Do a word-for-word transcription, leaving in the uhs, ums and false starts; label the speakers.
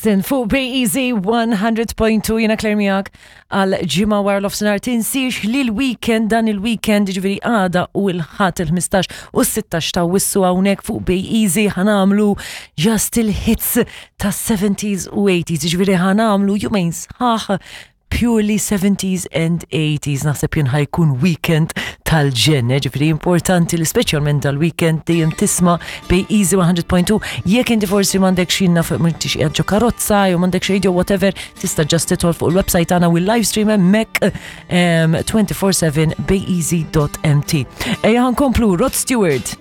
Speaker 1: Sin fuq Bay Easy one hundred point two, jiena Claire miegħek għal ġimgħa wara nofsinhar. Tinsiex li l-weekend, dan il-weekend, ġifieri għada u l-Ħadd il-ħmistax u s-sittax ta' Awwissu, hawnhekk fuq Bay Easy ħa nagħmlu just il-hits ta' seventies u eighties, ġifieri ħa nagħmlu jumejn sħaħ purely seventies and eighties. Naħseb jien ħa jkun weekend tal-ġenn, ġifieri importanti li speċjalment dal-weekend dejjem tisma' Bay Easy one hundred point two. Jekk inti forsi m'għandek xinna fuq, m'intix qiegħed ġo karozza jew m'għandek radio, whatever, tista' just tidħol fuq il-website tagħna u l-live stream hemmhekk um, twenty-four seven, bayeasy dot M T. Ejja, nkomplu Rod Stewart.